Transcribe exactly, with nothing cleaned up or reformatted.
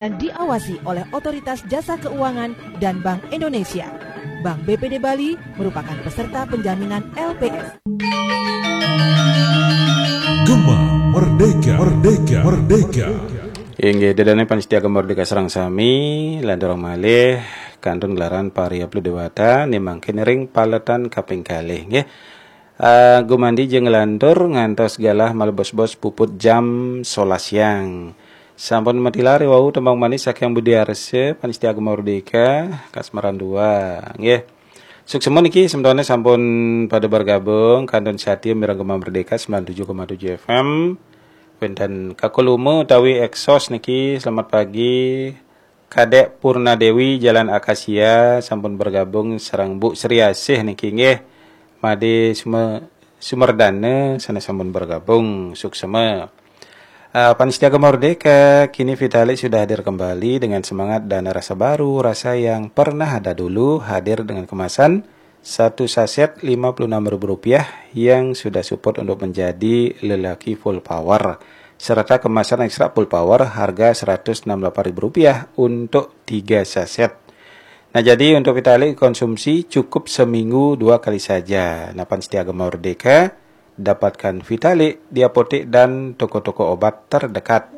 dan diawasi oleh Otoritas Jasa Keuangan dan Bank Indonesia. Bank B P D Bali merupakan peserta penjaminan L P S. Gema Merdeka, Merdeka, Merdeka. Inggih, ida dané pamiarsa Gema Merdeka sareng sami, lanturang malih kantun gelaran Pariaplus Dewata, né mangkin ring paletan kaping kalih, nggih. Eh, gumandhing nglantur ngantos galah malebos-bos puput jam sebelas siang. Sampun matilar wau tembang manis saking Budi Arsa, pamiarsa Gema Merdeka, Kasmaran dua, nggih. Suksma niki semetone sampun pada bergabung kantun satia mireng Gema Merdeka sembilan tujuh koma tujuh F M. Wénten Kakuluma utawi Exos niki, selamat pagi. Kadek Purna Dewi, Jalan Akasia, sampun bergabung sareng Bu Sri Asih niki, nggih. Madé Sume-, Sumerdana sané sampun bergabung, suksma. Uh, pamiarsa Gema Merdeka, kini Vitalik sudah hadir kembali dengan semangat dan rasa baru, rasa yang pernah ada dulu, hadir dengan kemasan satu saset lima puluh enam ribu rupiah yang sudah support untuk menjadi lelaki full power, serta kemasan ekstra full power harga seratus enam puluh delapan ribu rupiah untuk tiga saset. Nah, jadi untuk Vitalik konsumsi cukup seminggu dua kali saja. Nah, pamiarsa Gema Merdeka, dapatkan Vitalik di apotek dan toko-toko obat terdekat.